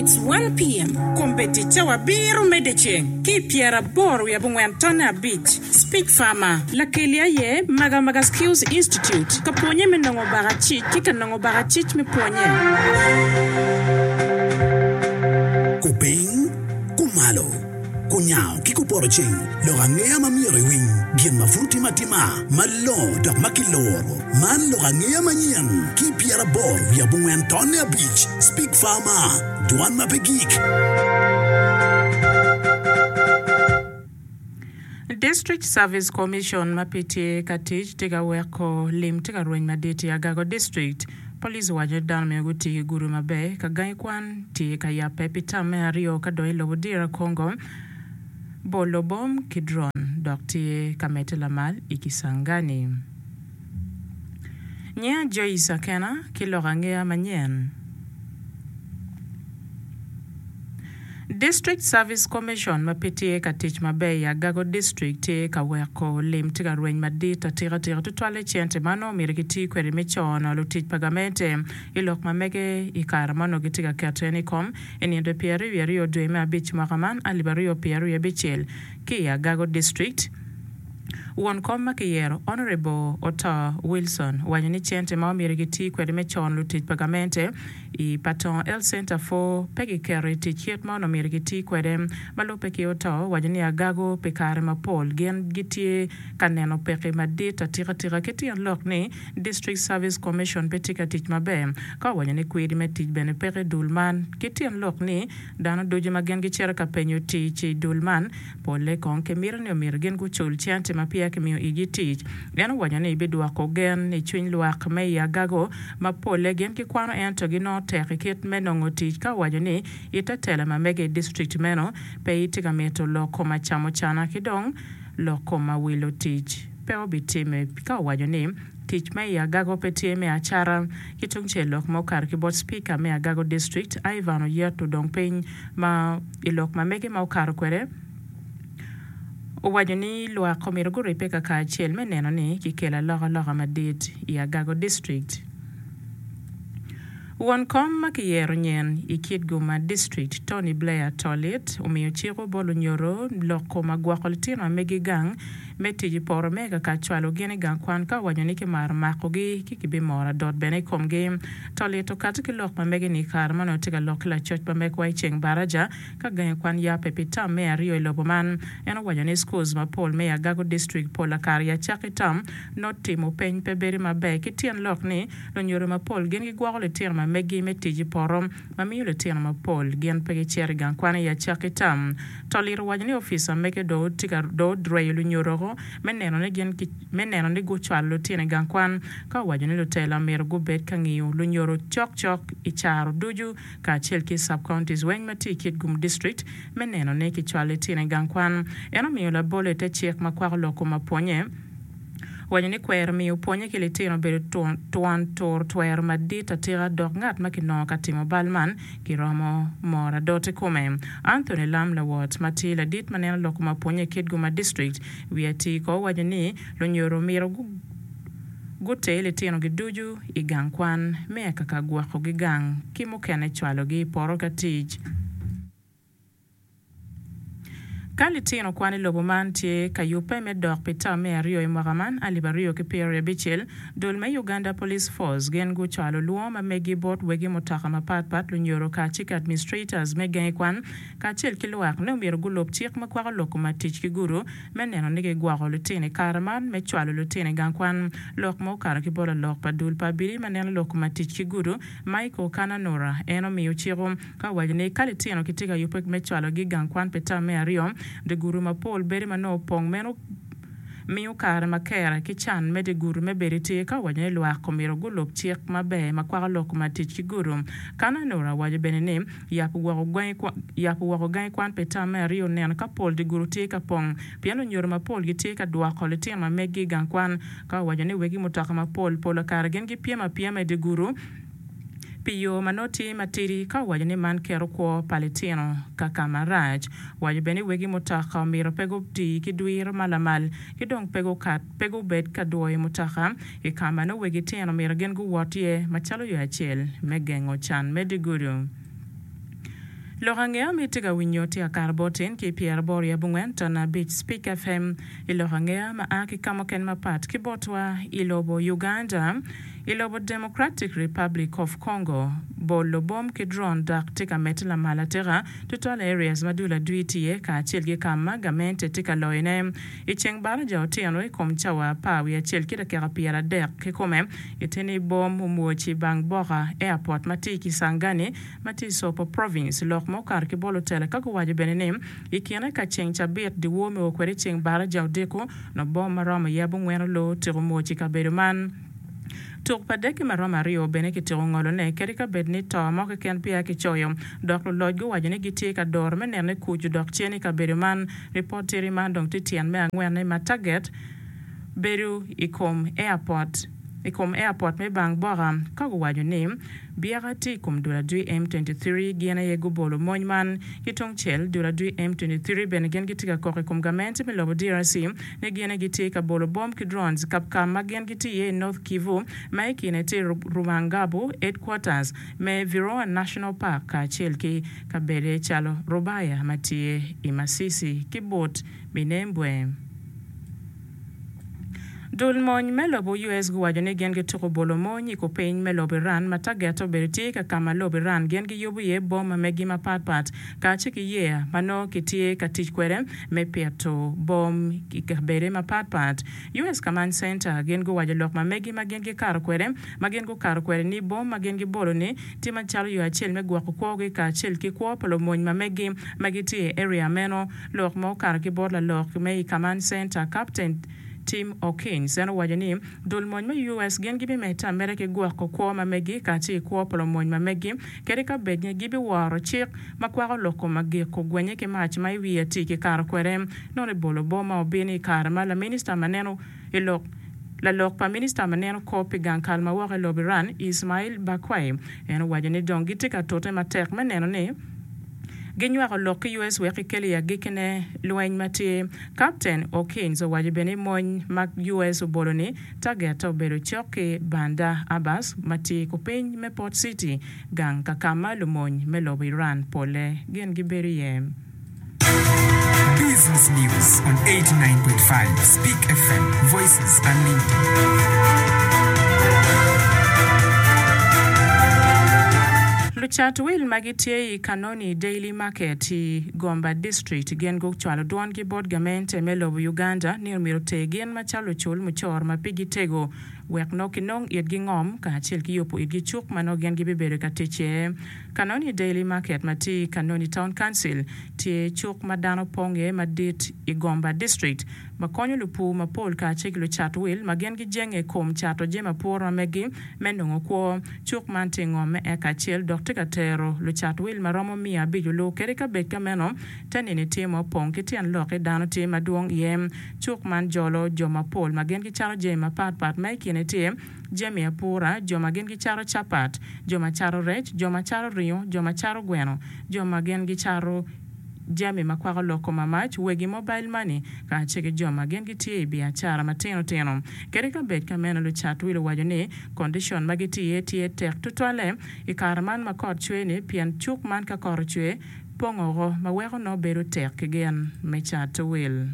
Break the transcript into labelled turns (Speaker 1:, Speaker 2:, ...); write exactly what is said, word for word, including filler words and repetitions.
Speaker 1: It's one P M.
Speaker 2: Kombeddi cawa abiro me dyeceng ki pyeraboro wiye abongwen tonne abic. Speak Farmer lakeli aye Magamaga Skills Institute ka pwonye me nongo bakacic ki ka nongo bakacic me pwonye.
Speaker 3: Kupiny, kumalo, kunyango ki kupoto ceng, lok angeya ma myero iwiny, gin ma pud timo atima, malongo dok ma kiloro. Man lok angeya manyen ki pyeraboro wiye abongwen tonne abic. Speak Farmer, dwan ma pe gik.
Speaker 2: District Service Commission ma pe tye ka tic tye ka weko lim tye ka rweny madit i Agago District. Police owaco ni dano myero guti ki gudo maber ka gangi kwan tye ka yabbe pi tam me aryo ka dong i lobo D R Congo bolo bom ki drone dok tye ka medde lamal i Kisangani. Nyinga Joyce Akena ki lok angeya manyen. District Service Commission ma pe tye ka tic maber i Agago District tye ka weko lim tye ka rweny madit atika tika tutwalle cente ma nongo myero giti kwede me cono lutic pa gamente i lok ma mege i kare ma onongo gitye ka keto en i kom i nino pyeraryo wiye aryo dwe me abic mwaka man alip aryo pyeraryo abicel ki i Agago District. Won kom ma kiyero Honorable Otto Wilson owaco ni cente ma omyero giti kwede me cono lutic pa gamente i Patong Health Center four pe giketo i tic kit ma onongo myero giti kwede. Ma lubbe ki Otto owaco ni Agago pi kare mapol gin gitye ka neno peki madit atika tika ki tyen lok ni District Service Commission pe tye ka tic maber ka owaco ni kwidi me tic bene peke dul man ki tyen lok ni dano ducu ma gin gicito ka penyo tic i dul man polle kong kimito ni omyero gin gucul cente ma peya kimiyo igi tic. En owaco ni bidwoko gen i cwiny lwak me i Agago ma polle gin gikwano ento ginongo tek i kit me nongo tic ka owaco ni ite tela ma mege i district meno pe itye ka mito lok kom acamo cana ki dong lok kom awilo tic pe obitime ka owaco ni tic me i Agago pe tye me acara. Ki tungcel lok ma okato ki bot Speaker me Agago District Ivan Oyeto dong piny ma i lok ma mege ma okato kwede owaco ni lwak omyero guribbe kakacel me neno ni kikelo alokaloka madit i Agago District. Won kom ma kiyero nyen i Kitgum District Tony Blair Tolit omiyo ciko bot lunyoro lok kom agwoko litino ma megi gang me tic i poto me kaka cwalo gin i gang kwan ka owaco ni kimaro makogi ki kibimoro adot bene i komgi. Tolit okato ki lok ma mege ni i kare ma onongo tye ka lok ki lacoc ma megwa i ceng baraja ka gangi kwan yabbe pi tam me aryo i lobo man. En owaco ni schools mapol me Agago District pol akare i acakki tam nongo timo peny pe bedo maber ki tyen lok ni lunyoro mapol gin gigwoko litino ma megi me tic i poto ma miyo litino mapol gin pe gicito i gang kwan i acakki tam. Tolit owaco ni ofisa mege dong tye ka dong odreyo lunyoro me neno ni gin me neno ni gucwalo lutino i gang kwan ka owaco ni lutela myero gubed ka ngiyo lunyoro cokcok i caro ducu kacel ki sub-counties weng ma tye i Kitgum District me neno ni kicwalo litino i gang kwan. En omiyo labol i te cik ma kwako lok kom apwonye owaco ni kwero miyo pwonye ki litino obedo twon tur twero madit atika dok ngat ma kinongo ka timo bal man kiromo moro adot i kome. Anthony Lam Lawot ma tye ladit ma neno lok kom apwonye i Kitgum District wiye atir ko owaco ni lunyoro myero guter litinogi ducu i gang kwan me kaka gwokogi gang ki mukene cwalogi i poto ka tic. Ka litino kwan i lobo man tye ka yubbe me dok pi tam me aryo i mwaka man alip aryo ki pyeraryo abicel dul me Uganda Police Force gin gucwalo lwongo ma megi bot wegi mutoka mapatpat lunyoro kacel ki administrators me gangi kwan kacel ki lwak ni omyero gulub cik ma kwako lok kom tic ki gudo me neno ni gigwoko lutino i kare man me cwalo lutino i gang kwan. Lok ma okato ki bot lalok pa dul pa abili ma neno lok kom tic ki gudo Michael Kananura en omiyo ciko ka owaco ni ka litino gitye ka yubbe me cwalogi i gang kwan pi tam me aryo dye gudo mapol bedo ma nongo opong meno miyo kare ma kere ki can me dye gudo me bedo tye ka owaco ni lwak omyero gulub cik maber ma kwako lok kom tic ki gudo. Kananura owaco bene ni yabo woko gangi kwan pi tam me aryo neno ka pol dye gudo tye ka pong pien lunyoro mapol gitye ka dwoko litino ma megi i gang kwan ka owaco ni wegi mutoka mapol pol kare gin gipyem apyema i dye gudo pi yo ma nongo tye matidi ka owaco ni man keto kwo pa litino ka ka marac. Owaco bene ni wegi mutoka omyero pe guti ki dwiro ma lamal ki dong pe gukat pe gubed ka dwoyo mutoka i ka ma nongo wegi tino myero gin guwot iye macalo yo acel me gengo can me dye gudo. Lok angeya ma itye ka winyo tye akato bot in ki pyeraboro i abongwen ton abic Speak FM i lok angeya ma a ki ka mukene mapat ki botwa i lobo Uganda. I lobo Democratic Republic of Congo, bolo bom ki drone dok tye ka medde lamal atika tutwal i areas ma dul adwi tye iye kacel ki ka ma gamente tye ka loyone. I ceng baraja otyeno i kom cawa apar wiye acel ki dakika pyeradek kikome, gitye ni bom omwoc i bang boka airport ma tye i Kisangani ma tye i Tshopo Province. Lok ma okato ki bot lutela ka guwaco bene ni i kine ka ceng cabit dyewor me o kwede i ceng baraja odiko, nongo bom ma romo iye abongwen oloo otyeko mwoc i kabedo man. Tuk pa deke ma romo aryo bene kityeko ngolone kadi ka bed ni to mo keken peya kicoyo, dok luloc guwaco ni gitye ka doro me neno ni kuc odok cen i kabedo man. Ripot tiri man dong tye tyen me angwenne ma taget bedo i kom airport i kom airport me Bang Boka ka guwaco ni byeka tye i kom dul adwi M twenty three gin aye gubolo mony man. Ki tungcel, dul adwi M twenty three bene gin gitye ka kok i kom gamente me lobo D R C ni gin aye gitye ka bolo bom ki drones ka ka ma gin gitye iye i North Kivu ma i kine tye Rumangabo Headquarters me Virunga National Park kacel ki kabede calo Rubaya ma tye i Masisi ki but Minembwe. Dul mony me lobo U S guwaco ni gin gituko bolo mony i kupiny me lobo Iran ma tagette obedo tye ka ka ma lobo Iran gin giyubo iye bom ma megi mapatpat kacel ki yeya ma nongo kitye ka tic kwede me pito bom i kabede mapatpat. U S Command Center gin guwaco lok ma megi ma gin gikato kwede ma gin gukato kwede ni bom ma gin gibolo ni tye macalo yo acel me gwoko kwogi kacel ki kwo pa lumony ma megi ma gitye i area meno. Lok ma okato ki bot lalok me i Command Center Captain Tim Hawkins en owaco ni dul mony me U S gin gibimedde ameda ki gwoko kwo ma megi kacel ki kwo pa lumony ma megi kadi ka bed ni gibiworo cik ma kwako lok kom agiko gwenye ki mac ma i wiye tye ki kato kwede. Nongo ibolo bom ma obino i kare ma laminista ma neno i lok Lalok pa minista ma neno kop pi gang kal ma woko i lobo Iran, Ismail Baqaei, en owaco ni dong gitye ka tute matek me neno ni ginywako lok ki U S wek kikel i agikkine lweny ma tye. Captain Hawkins owaco bene ni mony ma U S obolo ni tagette obedo cok ki Bandar Abbas ma tye kupiny me Port City, gang ka ka ma lumony me lobo Iran polle gin gibedo iye.
Speaker 1: Business News on eighty-nine point five Speak F M, Voices Unlimited.
Speaker 2: Lucat wil ma gitye i Kanoni Daily Market i Gomba District gin gucwalo dwongi bot gamente me lobo Uganda ni omyero oter gin macalo lucul mucoro ma pigi tego wek nongo kinong itgi ngom kacel ki yubo itgi cuk ma nongo gin gibibedo ka tic iye. Kanoni Daily Market ma tye i Kanoni Town Council tye cuk ma dano pong iye madit i Gomba District ma konyo lupur mapol kacel ki lucat wil ma gin gijenge i kom cato jami apura ma megi me nongo kwo. Cuk man tye ngom me eka acel dok tye ka tero lucat wil ma romo miya abic olu kadi ka bed ka meno te nini tye ma opong ki tyen lok ki dano tye madwong iye. Cuk man jolo jo mapol ma gin gicato jami mapatpat ma i kine tye jami apura, jo ma gin gicato capat, jo ma cato rec, jo ma cato ringo, jo ma cato gweno, jo ma gin gicato jami ma kwako lok kom amac, wegi mobile money kacel ki jo ma gin gitye i biacara matino tino. Kadi ka bed ka meno lucat wil owaco ni condition ma gitye iye tye tek tutwalle i kare man ma kot cwe ni pien cuk man ka kot ocwe pongo ma weko nongo bedo tek ki gin me cato wil.